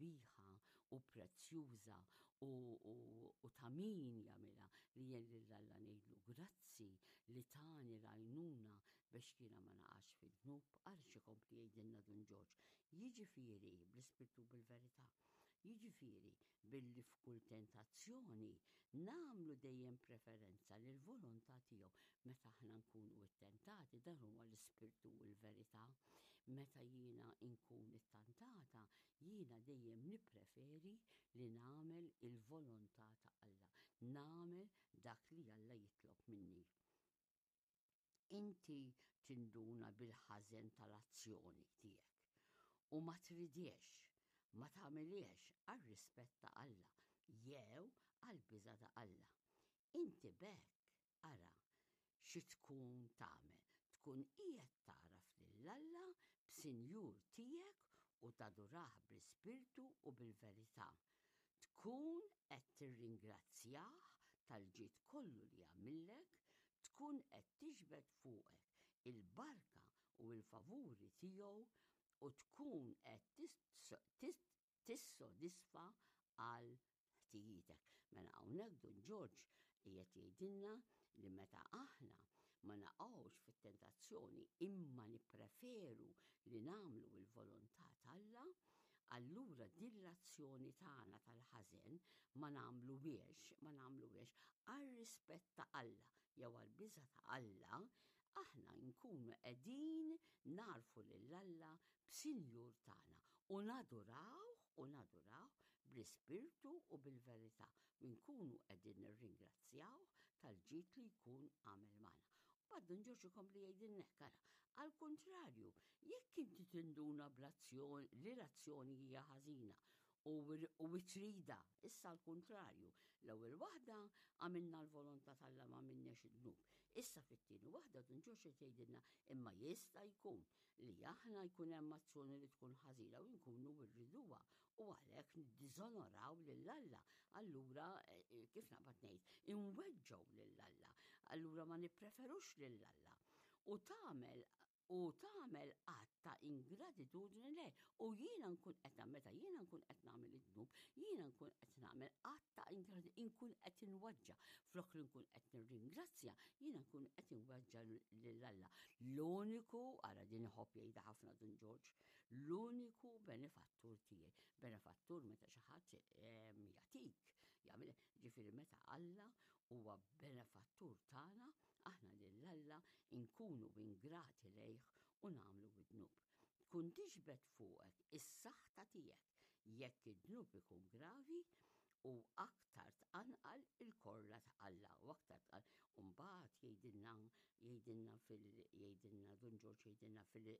sabiħa u prezzjuża u, u, u ta' min jagħmilha li jien lil Alla ngħidlu grazzi li tani l-għajnuna biex jiena ma naqax fid-dnub, ara x'ikompli jgħidilna Dun Ġorġ. Jiġifieri bl-ispirtu bil-verità. Jiġifieri billi f'kull tentazzjoni nagħmlu dejjem preferenza lill-volontà tiegħu. Meta aħna nkunu ttentati, dan huwa l-ispirtu u l-verità. Meta jiena nkun ittantata, jiena dejjem nippreferi li nagħmel il-volontà ta' Alla, nagħmel dak li Alla jitlob minni. Inti tinduna bil-ħażen tal-azzjoni tiegħek u ma tridiex, ma tagħmilhiex għar-rispett ta' Alla jew għall-biża' ta' Alla. Inti b'hekk ara xi tkun tagħmel, tkun qiegħed tagħraf lil Alla b'Sinjur tiegħek u tadurah bl-ispirtu u bil-verità. Tkun qed tirringrazzjah tal-ġid kollu li għamillek, tkun qed tiġbed fuqek il-barka u l-favuri tiegħu u tkun qed tissodisfa għal ħtijietek. Mela hawnhekk Dun Ġorġ qiegħed jgħidilna li meta aħna ma naqgħux fit-tentazzjoni imma nippreferu li nagħmlu l-volontà t'Alla, allura din l-azzjoni tagħna tal-ħażen ma nagħmluhiex, ma nagħmluhiex għar-rispett ta' Alla jew għall-biża' ta' Alla, aħna nkunu qegħdin nagħrfu lil Alla b'Sinjur tagħna u nadurawh u nadurawh bl-ispirtu u bil-verità u nkunu qegħdin nirringrazzjawh tal-ġid li jkun għamel magħna. Mbagħad Dun Ġorġ ikompli jgħidilna hekk, ara, għall-kuntrarju, jekk inti tinduna bl-azzjoni li l-azzjoni hija ħażina u tridha, issa l-kuntrarju, l-ewwel waħda għamilna l-volontà t'Alla ma għamilniex id-dnub. Issa fit-tieni waħda Dun Ġorġ qed jgħidilna imma jista' jkun li aħna jkun hemm azzjoni li tkun ħażina u nkunu rriduha u għalhekk niddiżonoraw lil Alla. Allura, eh, eh, kif naqbad ngħid, inweġġgħu lil Alla. Allura ma nippreferux lil Alla. U tagħmel u tagħmel att ta' ingratitudni lejh. U jiena nkun qed meta jiena nkun qed nagħmel id-dnub, jiena nkun qed nagħmel att ta' ingratitudni, nkun qed inweġġa'. Flok li nkun qed nirringrazzja, jiena nkun qed inweġġa' lil Alla. L-uniku, ara din iħobb jgħidha ħafna Dun Ġorġ, l-uniku benefattur tiegħi. Benefattur meta xi ħadd ehm, jagħtik, jagħmel ġifieri meta Alla huwa benefattur tagħna, aħna lil Alla nkunu ingrati lejh u nagħmlu id-dnub. Tkun tiġbed fuqek is-saħta tiegħek jekk id-dnub ikun gravi u aktar tqanqal il-korla ta' Alla u aktar tqanqal. U mbagħad jgħidilna jgħidilna fil jgħidilna Dun Ġorġ jgħidilna fil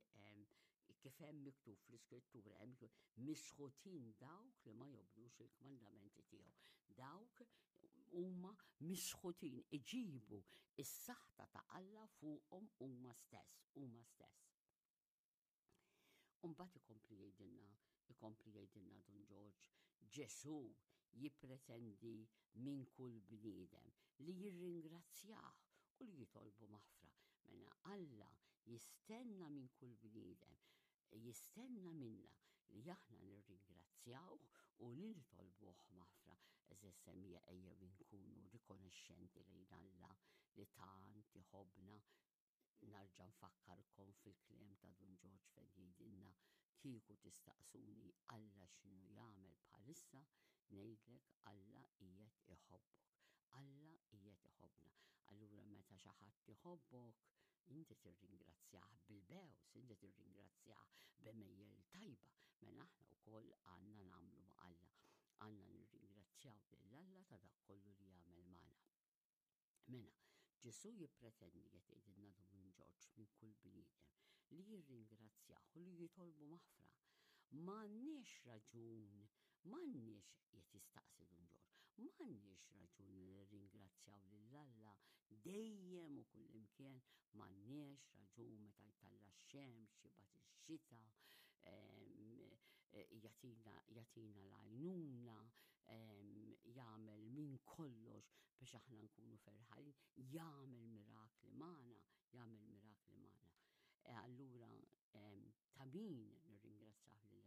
kif hemm miktub fl-iskrittura hemm miktub misħutin dawk li ma jobdux il-kmandamenti tiegħu. Dawk huma misħutin iġibu is-saħta ta' Alla fuqhom huma stess, huma stess. Umbat ikompli jgħidilna, ikompli jgħidilna Dun Ġorġ, Ġesù jippretendi minn kull bniedem li jirringrazzjah u li jitolbu maħfra. Mela Alla jistenna minn kull bniedem jistenna minna li aħna nirringrazzjawh u li nitolbuh maħfra. Eżis semija ejjew inkunu rikonoxxenti lejn Alla li tant iħobbna Narġa' nfakkarkom fil-kliem ta' Dun Ġorġ fejn jgħidilna kieku tistaqsuni Alla x'inhu jagħmel bħalissa, ngħidlek Alla qiegħed iħobbok. Alla qiegħed iħobbna. Allura meta xi ħadd iħobbok, inti tirringrazzjah bil-bews, inti tirringrazzjah b'għemejjel tajba. Mela aħna wkoll għandna nagħmlu ma' Alla. Għandna nirringrazzjaw lil Alla ta' dak kollu li jagħmel magħna. Mela, Ġesù jippretendi qed jgħidilna Dun Ġorġ minn kull bniedem li jirringrazzjah u li jitolbu maħfra. M'għandniex raġun, m'għandniex qed jistaqsi Dun Ġorġ, m'għandniex raġun li nirringrazzjaw lil Alla dejjem u kullimkien, m'għandniex raġun meta jtalla' x-xemx, jibgħat ix-xita, jagħtina jagħtina l-għajnuna, jagħmel minn kollox biex aħna nkunu ferħanin, jagħmel mirakli magħna, jagħmel mirakli magħna. E allura ta' min nirringrazzjah lil